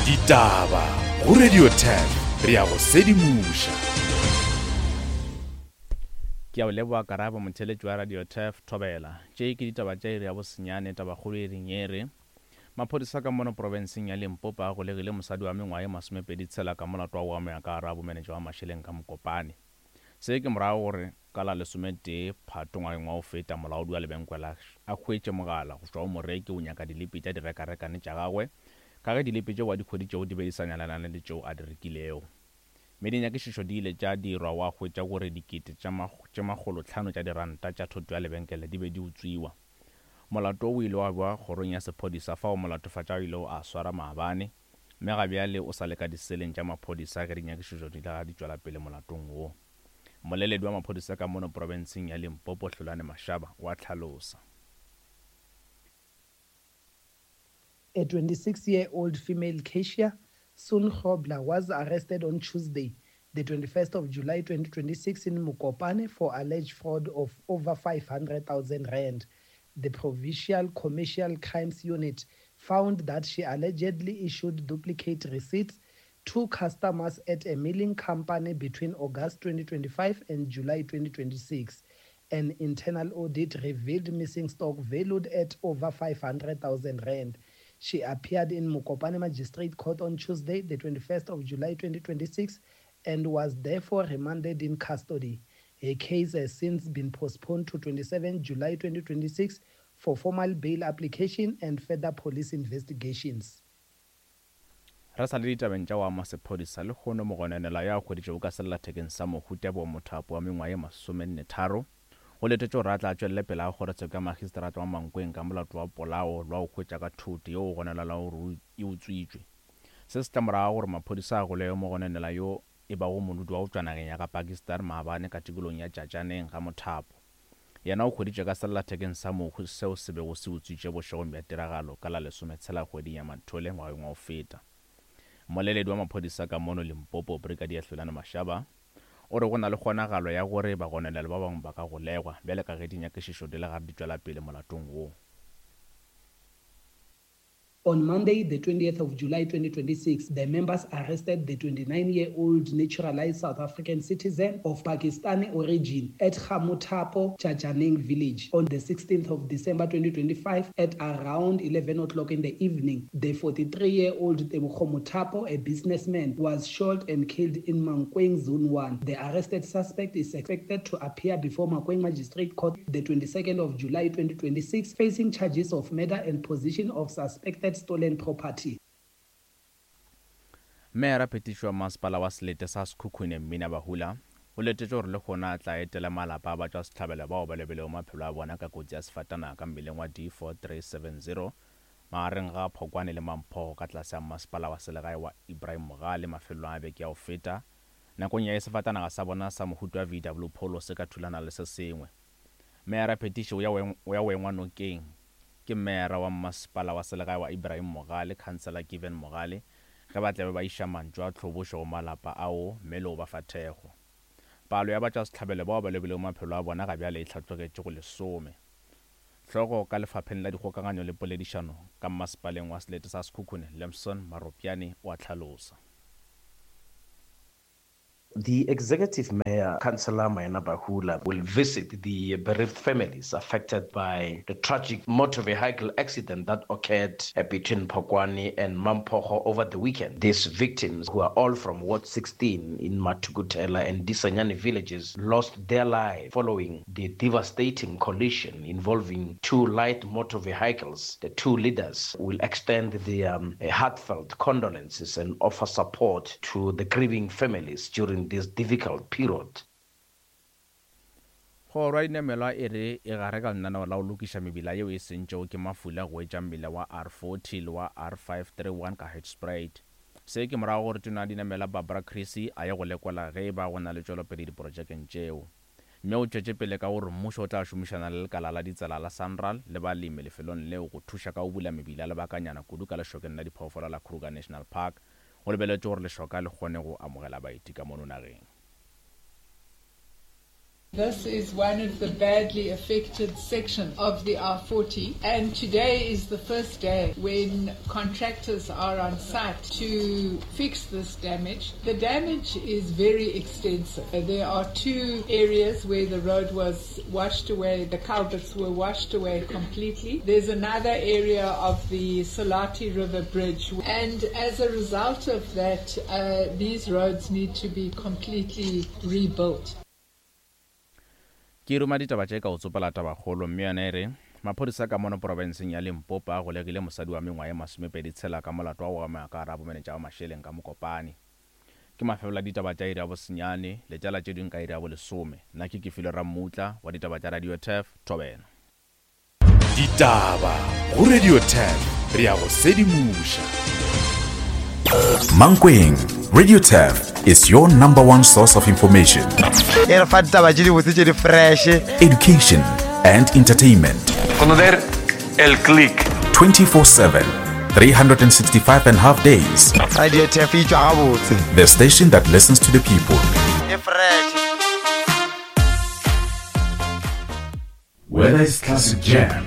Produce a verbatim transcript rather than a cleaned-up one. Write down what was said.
Ditaba go Radio ten re ya go sedimoša. Ke a o leboga Karabo motheletši wa Radio Turf Thobela. Tše ke ditaba tša iri ya bosenyane tabakgolo e reng e re maphodisa ka mono profenseng ya Limpopo a golegile mosadi wa mengwaga ye masomepedi tshela ka molato wa go amega ka gare ga bomenetša wa mašeleng ka Mokopane. Se ke morago gore ka la lesometee Phato ngwageng wa go feta molaodi wa lebenkele a hwetše mogala go tšwa go moreki o nyaka dilipi tša direkarekane tša gagwe ka ge dilipi tšeo a di hweditšego di be di sa nyalelane le tšeo a di rekilego. Mme dinyakišišo di ile tša dirwa wa hwetša gore dikete tše makgolo hlano tša diranta tša thoto ya lebenkele di be di utswiwa. Molato o ile wa bewa kgorong ya sephodisa fao molatofatša a ilego a swara maabane, mme ga bjale o sa le ka diseleng tša maphodisa ge dinyakišišo di le di tšwela pele molatong wo. Mmoleledi wa maphodisa ka mono profenseng ya Limpopo Hlulani Mashaba o a hlalosa. A twenty-six-year-old female cashier, Sun Grobler, was arrested on Tuesday, the twenty-first of July twenty twenty-six in Mokopane for alleged fraud of over five hundred thousand rand. The Provincial Commercial Crimes Unit found that she allegedly issued duplicate receipts to customers at a milling company between August twenty twenty-five and July twenty twenty-six. An internal audit revealed missing stock valued at over five hundred thousand rand. She appeared in Mokopane Magistrate Court on Tuesday, the twenty-first of July twenty twenty-six, and was therefore remanded in custody. Her case has since been postponed to twenty-seventh July twenty twenty-six for formal bail application and further police investigations. Re sa le ditabeng tša go ama sephodisa lehono mogononelwa yo a hweditšego ka sellathekeng sa mohu Tebogo Mothapo wa mengwaga ye masomenne tharo go letetše gore a tla tšwelele pele ga kgorotsheko ya magistrata wa Mankweng ka molato wa polao lwa go hwetša ka thoto yeo go gononelwago gore e utswitšwe. Se se tla morago gore maphodisa a golege mogononelwa yo e bago modudi wa go tšwa nageng ya ga Pakistan maabane ka tikologong ya Tšatšaneng ga Mothapo. Yena o hweditšwe ka sellathekeng sa mohu seo se bego se utswitše bošegong bja tiragalo ka la lesometshela kgweding ya Mathole ngwageng wa go feta. Mmoleledi wa maphodisa ka mono Limpopo Brigadier Hlulani Mashaba o re go na le kgonagalo ya gore bagononelwa ba bangwe ba ka golegwa bjale ka ge dinyakišišo di le gare di tšwela pele molatong wo. On Monday, the twentieth of July twenty twenty-six, the members arrested the twenty-nine-year-old naturalized South African citizen of Pakistani origin at Gamothapo Chajaneng village. On the sixteenth of December twenty twenty-five, at around eleven o'clock in the evening, the forty-three-year-old Tebogo Mothapo, a businessman, was shot and killed in Mankweng Zone one. The arrested suspect is expected to appear before Mankweng Magistrate Court the twenty-second of July twenty twenty-six, facing charges of murder and possession of suspected stolen property. Meyara phetišo wa masepala wa selete sa Sekhukhune Mmina Bahula o letetše gore le gona a tla etela malapa a batšwasehlabelo bao ba lobilego maphelo a bona ka kotsi ya sefatanaga ka mmileng wa D four three seven zero magareng ga Phokwane le Mamphogo ka tlase ga masepala wa selegae wa Ibrahim Mogale mafelong a beke ya go feta. Nakong ya sefatanaga sa bona sa mohuta wa V W Polo se ka thulana le se sengwe. Meyara phetišo o ya go engwa nokeng ke meyara wa masepala wa selegae wa Ibrahim Mogale, Councillor Given Mogale, ge ba tla be ba iša mantšu a tlhobošo go malapa ao mme le go ba fa thekgo. Palo ya batšwasehlabelo bao ba lobilego maphelo a bona ga bjale e hlatlogetše go lesome. Hlogo ka lefapheng la dikgokaganyo le poledišano ka masepaleng wa selete sa Sekhukhune, Lemson Maropjane o a hlalosa. The executive mayor, Councillor Maina Bahula, will visit the bereaved families affected by the tragic motor vehicle accident that occurred between Phokwane and Mamphogo over the weekend. These victims, who are all from Ward sixteen in Matukutela and Disanyane villages, lost their lives following the devastating collision involving two light motor vehicles. The two leaders will extend their um, heartfelt condolences and offer support to the grieving families during this difficult period. Kgoro ya dinamelwa e re e gare ka lenaneo la go lokiša mebila yeo e sentšego ke mafula go etša mmila wa R forty le wa R five three one ka Hoedspruit. Se ke morago gore tona ya dinamelwa Barbara Creecy a ye go lekola ge e ba go na le tšwelopele diprojekeng tšeo. Mme o tšwetše pele ka gore mmušo o tla šomišana le lekala la ditsela la Sanral le balemi lefelong leo go thuša ka go bula mebila lebakanyana kudu ka lešokeng la diphoofolo la Kruger National Park. Go lebeletše gore lešoka le kgone go amogela baeti ka mono nageng. This is one of the badly affected sections of the R forty, and today is the first day when contractors are on site to fix this damage. The damage is very extensive. There are two areas where the road was washed away, the culverts were washed away completely. There's another area of the Salati River Bridge, and as a result of that, uh, these roads need to be completely rebuilt. Ke ruma ditaba tše ka o tsopela tabakgolo mme yona e re maphodisa ka mono porofenseng ya Limpopo a golegile mosadi wa mengwaga ye masomepedi tshela ka molato wa go amega ka gare ga bomenetša ba mašeleng ka Mokopane. Ke mafelo a ditaba tša iri ya bosenyane, letšala tše dingwe ka iri ya bolesome. Nna ke Kefilwe Rammutla wa ditaba tša Radio Turf, Thobela. Ditaba go Radio Turf, re ya go sedimoša. Mankweng, Radio Turf is your number one source of information. E re fa ditaba tše dibotse tše di fresh. Education and entertainment. Conocer el click. twenty-four seven, three hundred sixty-five and a half days. Radio Turf e tšwa gabotse. The station that listens to the people. E fresh. Whether it's classic jam,